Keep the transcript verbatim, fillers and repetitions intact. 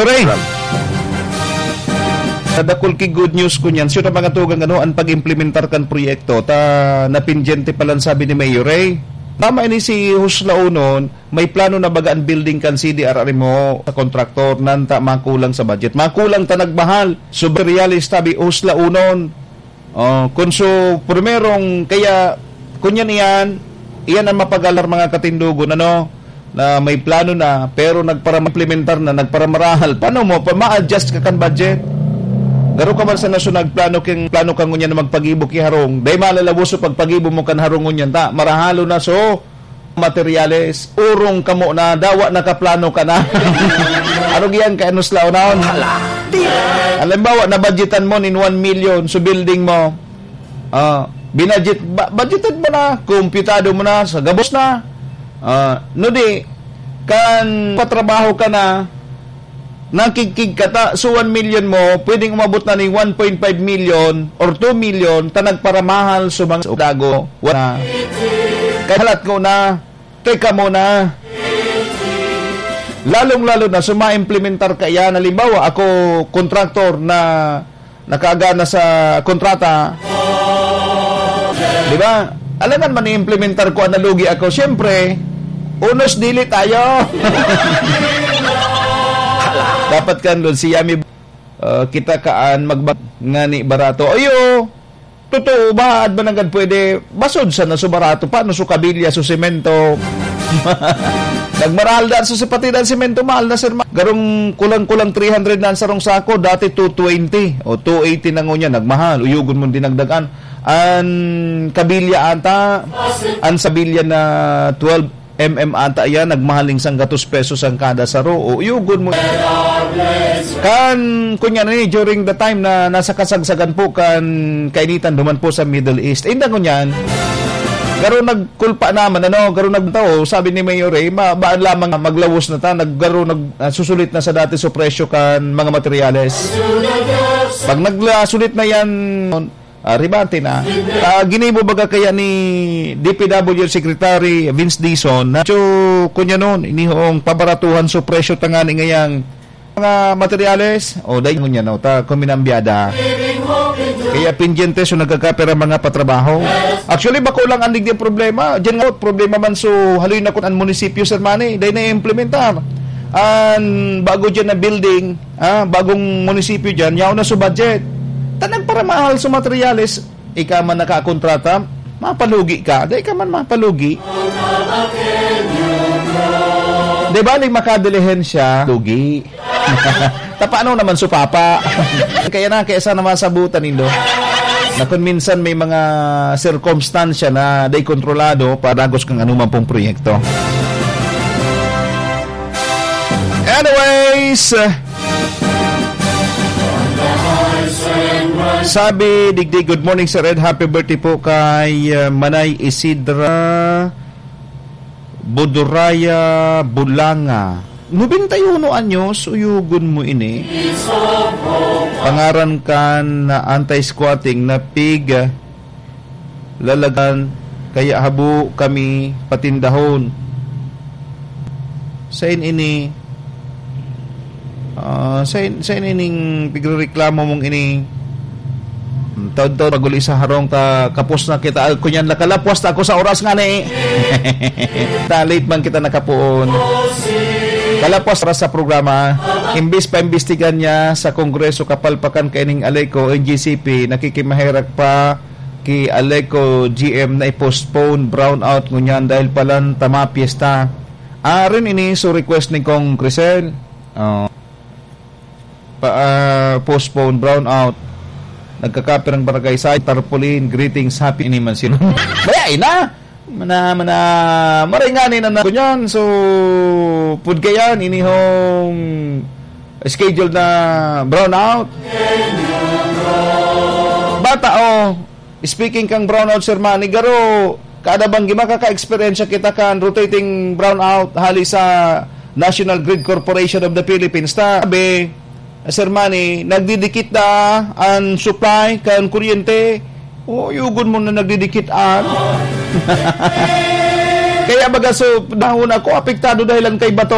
Pray. Sa dakul ki good news ko niyan, siya na mga tugang ano, ang pag-implementar kan proyekto, ta napindyente pa lang sabi ni Mayor Ray. Tama ini si Huslaunon, may plano na baga ang building kan C D R R M O sa kontraktor, nanta makulang sa budget. Makulang ta nagmahal. So, realista bi Huslaunon. Oh, kun so, primerong, kaya, kun yan iyan, iyan ang mapagalar mga katindogon, ano, na may plano na, pero nagpara-implementar na, nagparamarahal. Paano mo, pa, ma-adjust ka kan budget? Garo ka man sa nasunag plano king, plano ka ngunyan na magpagibo ki harong. Dai malalabos so pagpagibo mo kan harong ngunyan, ta, marahalo na so, materyales, urong kamo na, dawa nakaplano ka na. Arog yan, kay anus laonaon. Hala, di. Halimbawa, nabudgetan mo nin one million, so building mo. Ah, binudget, ba-, budgeted mo na, kumpyutado mo na, sa gabos na. Ah, no di, kan patrabaho ka na, nakigkig ka ta, so one million mo, pwedeng umabot na ning one point five million or two million, ta nagparamahal sa mga dago. Wala. Kaya halat ko na, teka muna. Lalong-lalo na, suma-implementar ka yan. Halimbawa, ako, kontraktor na nakagana sa kontrata. Di ba? Alangan man i-implementar ko, nalugi ako. Siyempre, unos dili tayo. Dapat kan doon, si Yami, uh, kita kaan magbag ngani barato. Ayo, totoo ba? At ba nanggad pwede? Basod sa naso barato. Paano so kabilya, so semento? Nagmaral dan so sipati dan semento, mahal na, sir. Ma-, garong kulang-kulang three hundred na ang sarong sako, dati two twenty o two eighty na ngunyan, nagmahal. Uyugon mo dinagdagan. An kabilya ata, an sabilya na twelve M M ata yan, nagmahal ning sanggatos pesos ang kada saro. O, uyugon mo. Kan, kunya na ni, during the time na nasa kasagsagan po kan kainitan duman po sa Middle East. Eh, inda ngunyan, garo nagkulpa naman, ano, garo nagtao, sabi ni Mayor Ray, ma-, baan lamang maglawos na ta, nag-, garo nag-, ah, susulit na sa dati so presyo kan mga materyales. Pag nagsulit na yan, ah, ribante na. Ah, ginibo baga kaya ni D P W Secretary Vince Dizon na, so, kunya nun, inihong pabaratuhan so presyo tangani ngayang mga materyales, o, dahil ngunyan, no, ta, kuminambyada. Kaya pindyente, so, nagkakapera mga patrabaho. Actually, bako lang ang digdi problema. Diyan nga, problema man, so, haloy na kun ang munisipyo, sir, mani, dahil na-implementar. An bago diyan na building, ah, bagong munisipyo diyan, yaon na so budget. Ta nagparamahal so materyales, ika man nakakontrata, mapalugi ka. Dai ka man mapalugi. Di ba, ling makadilihensya, lugi. Ta paano naman so papa? Kaya na, kaya sana masabutan nindo na kun minsan may mga sirkumstansya na dai kontrolado, padagos kang anuman pong proyekto. Anyways, sabi, digdi, "Good morning, Sir Ed. Happy birthday po kay, uh, Manay Isidra Buduraya Bulanga. Nobenta y uno anyos, uyugon mo ini. Pangaran kan anti-squatting na pig, lalagan, kaya habo kami patindahon." Sain ini, ah, sain, sain ining pigrereklamo mong ini? Hmm, taod-taod pag-uli sa harong ta, kapos na kita. Ah, kunyan, nakalapwas ta ako sa oras nga ni. Ta, late man kita nakapoon. Kalapwas oras sa programa. Imbis pa imbestigan niya sa Kongreso, kapalpakan kaining Aleco, N G C P, nakikimaherak pa ki Aleco G M na i-postpone brownout ngunyan dahil palan tama piyesta. Arin ini so request ni Kong Crisel. Oh. Pa, ah, postpone brownout. Nagkakapirang barangay sa tarpaulin. Greetings, happy ini man sila. Baya, ina! Mana, mana, maray nga ni na, na, kunyan. So, pud kayan, inihong schedule na brownout. Bata, oh, speaking kang brownout, Sir Manny, garo, kada banggi makaka-eksperyensya kita kan rotating brownout hali sa National Grid Corporation of the Philippines. Ta, sabi, Sir Manny, nagdidikit na an supply kan kuryente. O, yugon mo na nagdidikit an. Kaya baga, so, dahon ako, apektado dahil lang kay bato.